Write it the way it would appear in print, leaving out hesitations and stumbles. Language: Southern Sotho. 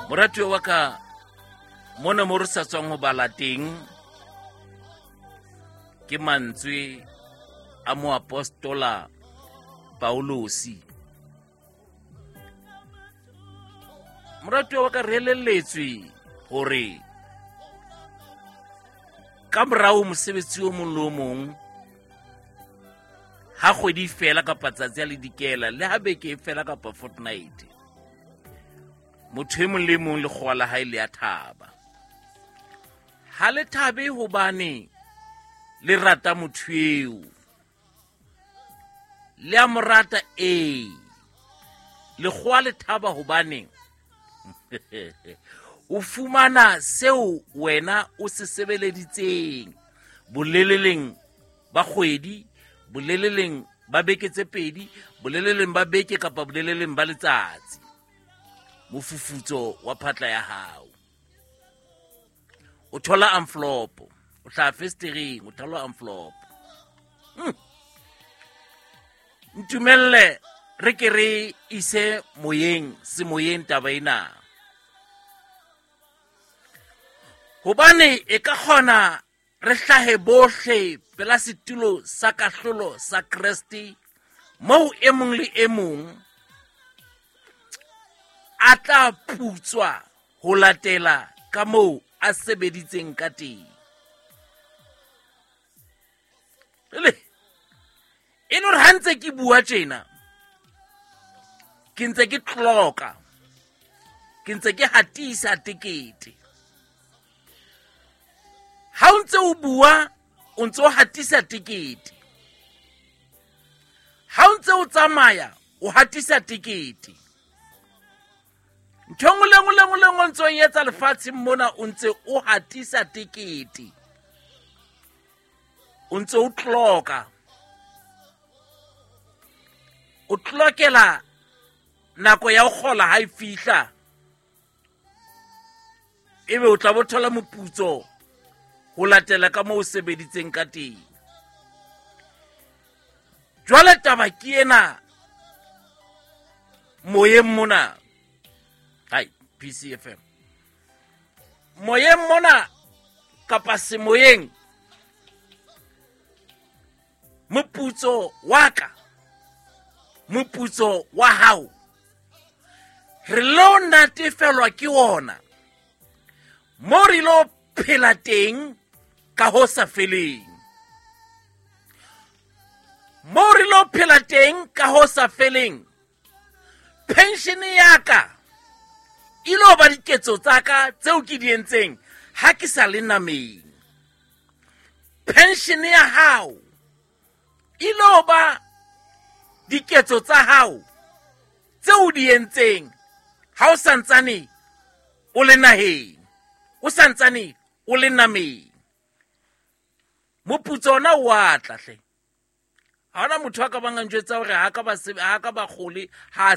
Moratuwa wa ka, mona mo re sa tswang ho bala teng ke mantswe a moapostola Paulosi. Moratuwa wa ka, re elelletswe hore ka morao mosebetsi o mong le o mong ha kgwedi e fela kapa tsatsi a le dikela le ha beke e fela kapa fortnight, motho e mong le mong lekgowa la hae le a thaba. Ha le thabe hobane le rata motho eo, le a mo rata. Ee, lekgowa le thaba hobane o fumana seo wena o se sebeleditseng boleleleng ba kgwedi, boleleleng ba beke tse pedi, boleleleng ba beke kapa boleleleng ba letsatsi, mofufutso wa phatla ya hao. O thola envelope, o hlaha festereng, o thola envelope. Ntumelle re ke re ise moyeng, semoyeng taba ena, hobane e ka kgona re hlahe bohle pela setulo sa kahlolo sa Kreste, moo e mong le e mong a tla putswa ho latela ka moo a sebeditseng ka teng. Ele e le hore ha ntse ke bua tjena, ke ntse ke tloka, ke ntse ke hatisa tekete. Ha o ntse o bua, o ntse o hatisa tekete. Ha o ntse o tsamaya, o hatisa tekete. Ntho e nngwe le nngwe le nngwe le nngwe o ntse o e etsa lefatsheng mona, o ntse o hatisa tekete, o ntse o tloka, o tlokela nako ya ho kgola ha e fihla, ebe o tla bo thola moputso ho latela ka moo o sebeditseng ka teng. Jwale taba ke ena moyeng mona, hai PCFM, moyeng mona kapa semoyeng, moputso wa ka, moputso wa hao, re lo natefelwa ke ona mo re lo phela teng ka ho sa feleng, mo re lo phela teng ka ho sa feleng. Pension ya ka e lo ba diketso tsa ka tseo ke di entseng ha ke sa le nameng. Pension ya hao e lo ba diketso tsa hao tseo o di entseng ha o santsane o le naheng, o santsane o le nameng. Moputso ona o a tla hle. Ha hona motho a ka bang a njwetsa hore ha ka ba sebe, ha ka ba kgole, ha a